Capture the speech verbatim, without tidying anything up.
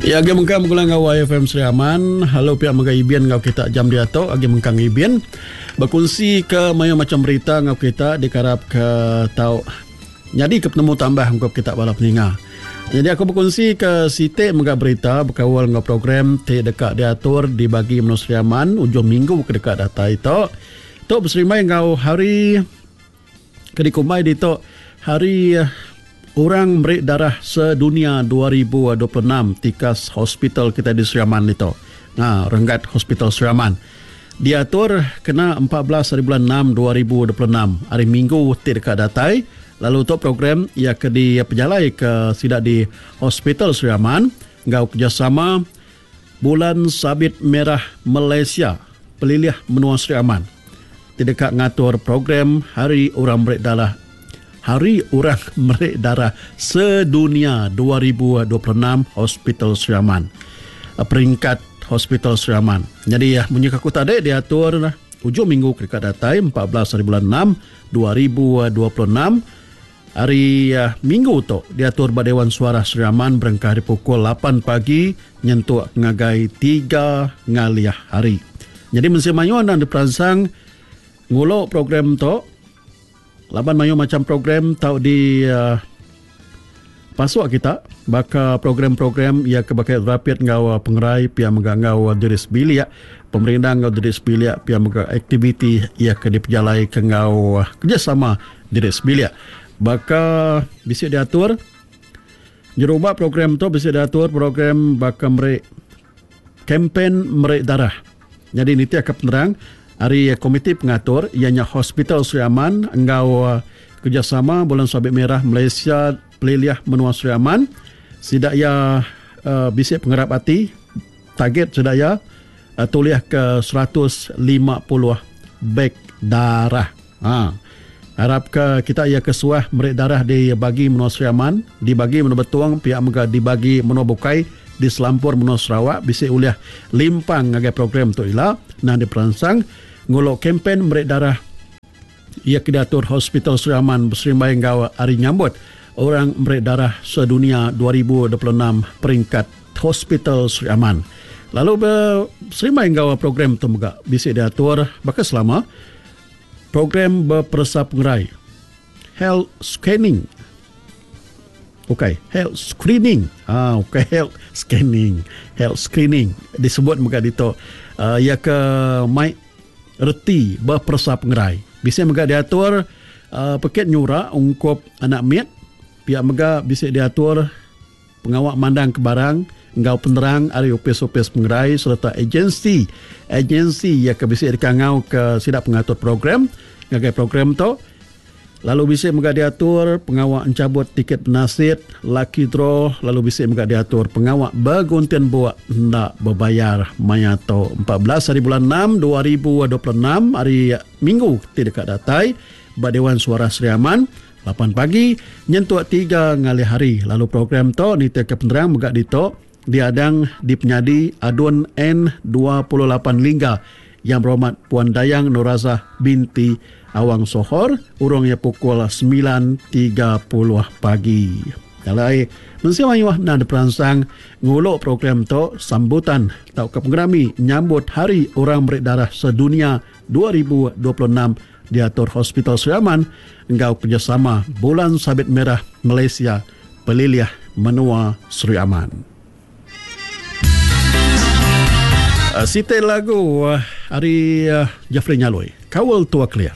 Ya agi mengkang begulai enggau Y F M Sri Aman, lalu pia mega Ibin enggau kita jam diatu agi mengkang Ibin bekunsi ke mayuh macam berita enggau kita dikarap ke tau nyadi ke penemu tambah ungkup kita bala peninga. Jadi aku bekunsi ke siti mega berita bekaul enggau program ti deka diatur di bagi menua Sri Aman ujung minggu ke deka datai tu. Tu beserimbai enggau hari ke dikumbai ditu hari Orang Meri Darah Sedunia dua ribu dua puluh enam tikas hospital kita di Sri Aman itu. Ha, renggat Hospital Sri Aman. Diatur kena empat belas hari bulan enam dua ribu dua puluh enam hari Minggu ti deka datai. Lalu tu program ia ke dipejalai ke sida di Hospital Sri Aman enggau kerjasama Bulan Sabit Merah Malaysia Pelilih Menua Sri Aman. Ti deka ngatur program Hari Orang Meri Darah Hari Orang Meri Darah Sedunia dua ribu dua puluh enam Hospital Sri Aman. Peringkat Hospital Sri Aman. Jadi munyi aku tadi diatur ujung minggu ke dekat datai empat belas hari bulan enam dua ribu dua puluh enam hari minggu tu diatur ba Dewan Suara Sri Aman berengkah di pukul lapan pagi nyentuk ngagai tiga ngaliah hari. Jadi mensia mayuh nang diperansang ngulok program tu. Laban mayuh macam program tau di uh, pasuk kita baka program-program ia ke bakal rapid enggau uh, pengerai pia mega enggau uh, diri sebilik, pemerindang enggau diri sebilik pia mega aktiviti ia ke dipejalai ke enggau uh, kerjasama diri sebilik. Baka bisi diatur nyerubak program tu bisi diatur program baka meri kempen meri darah. Jadi nitiah ke penerang hari komiti pengatur ianya Hospital Sri Aman enggau kerjasama Bulan Sabit Merah Malaysia Pelilih Menua Sri Aman. Sidak ia uh, bisik pengerap hati target sidak ia uh, tuliah ke seratus lima puluh beg darah. Ha. Harap ke kita ia kesuah meri darah dibagi Menua Sri Aman, dibagi Menua Betong, pihak mega dibagi Menua Bukai di Selampur Menua Sarawak bisik uliah limpang ngagai program tu ila nang diperansang ngulok kempen meri darah ia ke diatur Hospital Sri Aman beserimbai enggau hari nyambut orang meri darah sedunia dua ribu dua puluh enam peringkat Hospital Sri Aman. Lalu beserimbai enggau program tu mega bisik diatur baka selama program berperesa pengerai health scanning. Okey, health screening. Ah, okey, health scanning, health screening disebut mega ditu. Uh, ia ke mai reti berperesa pengerai. Bisa mega diatur uh, peket nyura ungkup anak mit. Pihak mega bisa diatur pengawak mandang ke barang enggau penerang ari opis-opis pengerai serta agensi agensi ia ke bisa dikangau ke sidak pengatur program ngagai program tu. Lalu bisa mega diatur pengawak encabut tiket penasit, lucky draw, lalu bisa mega diatur pengawak berguntian buak hendak berbayar maya tu empat belas hari bulan enam dua ribu dua puluh enam hari Minggu ti dekat datai ba Dewan Suara Sri Aman lapan pagi nyentuk tiga ngalih hari. Lalu program tu nitih ke penerang mega ditu diadang di penyadi Adun N dua puluh lapan Lingga Yang Berhormat Puan Dayang Norazah binti Awang Sohor urungnya pukul sembilan tiga puluh pagi. Alai mensia mayuh nang diperansang ngulok program tu sambutan tau ke pengerami nyambut Hari Orang Meri Darah Sedunia dua ribu dua puluh enam diatur Hospital Sri Aman enggau kerjasama Bulan Sabit Merah Malaysia Pelilih Menua Sri Aman. Uh, Siti lagu uh, hari uh, Jeffrey Nyaloi, Kawal Tua Kelia.